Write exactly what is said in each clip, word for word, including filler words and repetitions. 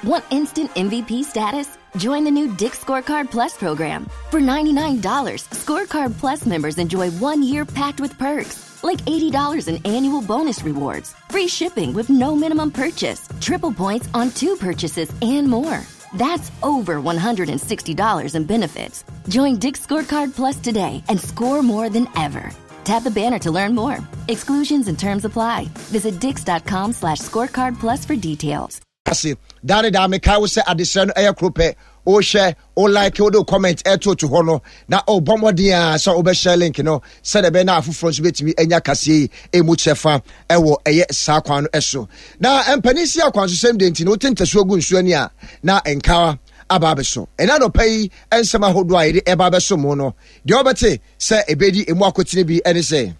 Want instant M V P status? Join the new Dick's Scorecard Plus program. For ninety-nine dollars, Scorecard Plus members enjoy one year packed with perks, like eighty dollars in annual bonus rewards, free shipping with no minimum purchase, triple points on two purchases, and more. That's over one hundred sixty dollars in benefits. Join Dick's Scorecard Plus today and score more than ever. Tap the banner to learn more. Exclusions and terms apply. Visit dicks dot com slash scorecard plus for details. Ase daa ne daa, mekae wo sɛ adesrɛ no ɛyɛ koro pɛ. Wohwɛ, wo like, wode comment ɛto to hɔ no, na ɔbɔ mmɔden a sɛ wobɛhyɛ link no sɛdeɛ ɛbɛyɛ na afoforɔ nso bɛtumi anya kaseɛ yi ɛmu kyɛfa ɛwɔ ɛyɛ saa kwan no ɛso. Na mpanin si akwansosɛm de nti no, wote ntasuo gu nsuo ani a na nkawa aba abɛso. Ɛna anɔpa yi, nsɛm ahodoɔ a yɛde ɛba abɛso mu no deɛ, wɔbɛte sɛ ɛbɛdi emu akotene bi ɛne sɛ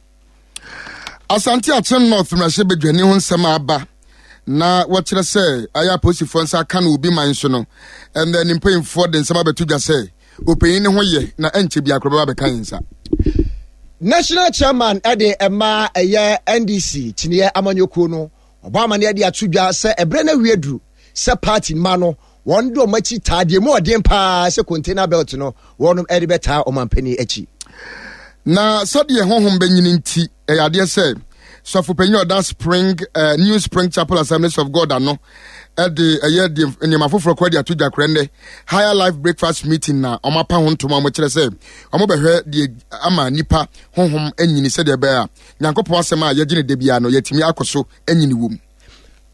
Asante Akyem North mmarahyɛbadwani ho nsɛm aba na wɔkyerɛ sɛ ayɛ apolisifoɔ nsa aka no obi man so no, ɛnna ne mpanyinfoɔ de nsɛm abɛto dwa sɛ ɔpanyin ne ho yɛ na ɛnkyɛ bi akorɔ bɛba bɛka yɛn nsa. National chairman ɛde ɛma ɛyɛ N D C kyiniiɛ amanyɔkuo no, ɔbɔ amaneɛ de ato dwa sɛ ɛberɛ no awie duru sɛ party ma no wɔn de wɔn akyi taa deɛ mu ɔden paa sɛ container belt no, wɔn de bɛtaa ɔmampanin akyi. Na sɛdeɛ honhom bɛnyini nti, ɛyɛ adeɛ sɛ sɔfopanyin ɔda Spring uh, New Spring Chapel Assemblies of God ano ɛde ɛyɛ deɛ nneɛma foforɔ kɔ de ato dwa korɛ nnɛ Higher Life Breakfast Meeting na wɔn apa ho ntoma. Wɔn kyerɛ sɛ wɔn bɛhwɛ deɛ ama nipa honhom anyini, sɛdeɛ ɛbɛyɛ a Nyankopɔn asɛm a yɛgye ne da biara no, yɛtumi akɔ so anyini wɔ mu.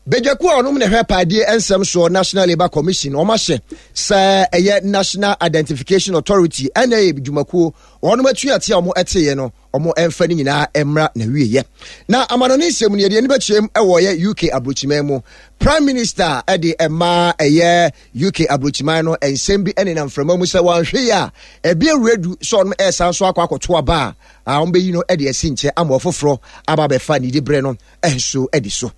Badwakuo a ɔnom na ɛhwɛ paadie nsɛm soɔ, National Labour Commission, wɔn ahyɛ sɛ ɛyɛ National Identification Authority ɛna ɛyɛ dwumakuo wɔnom atuate a wɔn ɛteeɛ no, wɔn ɛmfa no nyinaa mmra na wieɛ. Na amanɔne nsɛm no, yɛde ani bɛkyerɛm ɛwɔ yɛ U K aburokyiman mu. Prime Minister ɛde ɛma ɛyɛ U K aburokyiman no, nsɛm bi ɛnenam mframa mu sɛ wɔanhwɛ yi a, ɛbi awuradu sɛ ɔnom ɛresan so akɔ akɔto aba a wɔn bɛyi no ɛde asi nkyɛn ama ɔfoforɔ aba abɛfa ne diberɛ no ɛnso ɛdi so.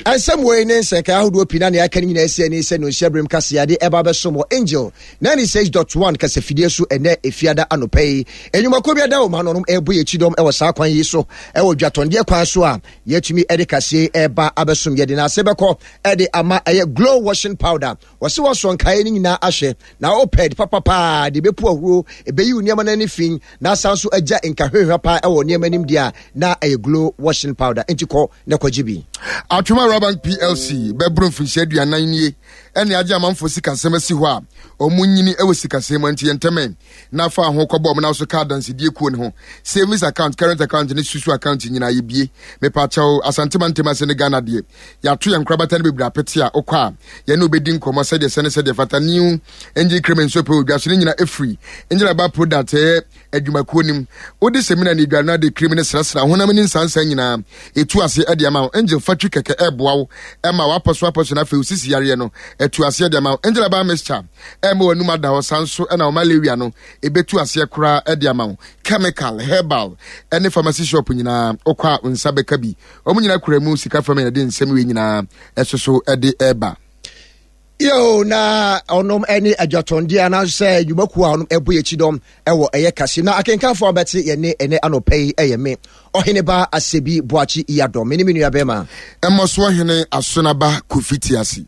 Ɛnsɛm wei ne nsɛnkae ahodoɔ pii na nea aka no nyinaa asi ani sɛ nonhyia berem kaseade ɛba bɛsom wɔ Angel ninety-six point one kasafidie so ɛnɛ Efiada anɔpa yi. Enwumakuo bi ada wɔ ma no ɛbɔ yɛ kyidɔm ɛwɔ saa kwan yi so, ɛwɔ dwatɔndeɛ kwan so a yɛtumi ɛde kaseɛ ɛba abɛsom. Yɛde n'ase bɛkɔ ɛde ama ɛyɛ Glow Washing Powder. Wɔsi wɔsɔ nkaeɛ no nyinaa ahwɛ na wopɛ papapaa de bɛpu ahuro, ɛbɛyi wo nneɛma no ani fi na asan so agya nkahwehwɛ paa ɛwɔ nneɛma anim deɛ a, na ɛyɛ Glow Washing Powder. Nti kɔ na kɔgye bi. Atwoma Rural Bank P L C bɛboro mfirinhyia aduanan nie ɛne agye amanfoɔ sikasɛm asi hɔ a ɔmo nyini ɛwɔ sikasɛm mu. Nti yɛntɛmɛ na fa ho kɔbɔ ɔmo na so ka adansedie kuo ne ho. Savings account, current account ne susu account nyinaa yɛbie. Mepakyɛw, Asantema ntɛm ase ne Ghana deɛ, yɛato yɛn nkorabata no bebree apete a wokɔ a yɛne wobɛdi nkɔmmɔ sɛdeɛ sɛ ne sɛdeɛ fata. New Angel Cream nso pɛ odwa so ne nyina ɛfiri Angel Aba product, ɛyɛ adwumakuo nim. Wode sɛmina ne aduane no ade cream ne srasra honam ne nsansa nyinaa ɛtu ase ɛde ama wo. Angel Fatwi kɛkɛ ɛboa wo ɛma wapɔ so apɔ so no, afei wosisi yareɛ no ɛtu aseɛ de ama wo. Angel Aba mixture ɛma w'anum ada hɔ san so, ɛna wo malaria no ɛbɛtu aseɛ koraa ɛde ama wo. Chemical, herbal ɛne pharmacy shop nyinaa, wokɔ a wo nsa bɛka bi. Wɔn nyinaa kura mu sika fam. Yɛde nsɛm wei nyinaa ɛso so ɛde ɛba. Yo, na ɔnom ne adwatɔndeɛ anaasɛ nnwumakuo a ɔnom ɛbɔ yɛ kyidɔm ɛwɔ ɛyɛ kase na akenkanfoɔ a bɛte yɛne ɛnɛ anɔpa yi ɛyɛ me ɔhene ba Asɛbi Boakye Yadɔ, me ne me nua bɛrima Ɛmmɔ hene Asonaba Kofi Tiase.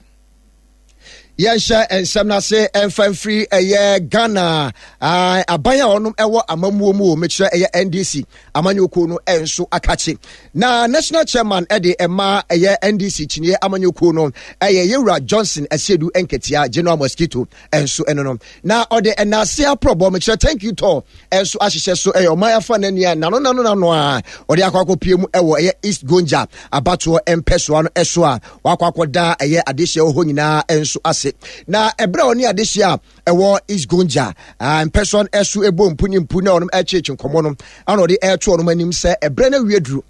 Yɛnhyɛ nsɛm no ase ɛmfa mfiri ɛyɛ Ghana aban a ɔnom ɛwɔ amammuo mu o, mekyerɛ ɛyɛ N D C amanyɔkuo no ɛnso akakye. Na national chairman ɛde ɛma ɛyɛ N D C kyiniiɛ amanyɔkuo no ɛyɛ yɛwura Johnson Asiedu Nketia, General Mosquito ɛnso ɛno no, na ɔde ɛnaase aprɔbɔ, mekyerɛ thank you tour, ɛnso ahyehyɛ so ɛyɛ ɔman afa n'ani a nano nano nano a ɔde akɔ akɔpie mu ɛwɔ ɛyɛ East Gonja abatoɔ mpɛsoa no ɛso a wakɔ akɔda ɛyɛ adehyɛ wɔ hɔ nyinaa ɛnso ase. Na ɛberɛ a ɔne adehyɛ a ɛwɔ East Gonja mpɛsoa no ɛso ɛbɔ mpu ne mpu na ɔnom ɛkyekye nkɔmmɔ no, ana ɔde ɛreto ɔnom anim sɛ ɛberɛ no awie duru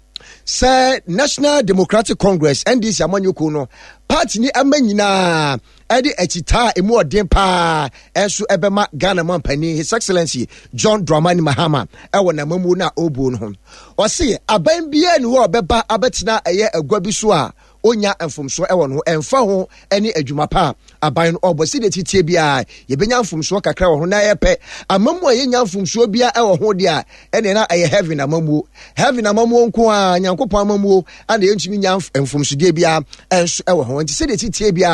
sɛ National Democratic Congress, N D C amanyɔkuo no, party ni ama nyinaa ɛde akyitaa a emu ɔden paa ɛnso ɛbɛma Ghana mampanin, His Excellency John Dramani Mahama, ɛwɔ n'amamuo no a ɔrebuo no ho. Ɔse aban biara ni hɔ a ɔbɛba abɛtena ɛyɛ agua bi so a onya mfomsoɔ ɛwɔ no ho, ɛmfa ho ɛne adwuma pa a aban no ɔbɔ. Sɛdeɛ titie biara yɛbɛnya mfomsoɔ kakra wɔ ho na yɛpɛ amamu a yɛnya mfomsoɔ biara ɛwɔ ho deɛ a, ɛne na ɛyɛ heaven amamuo. Heaven amamuo nko a, Nyankopɔn amamuo ana yɛntumi nya mfomsodeɛ biara ɛnso ɛwɔ ho. Nti sɛdeɛ titie biara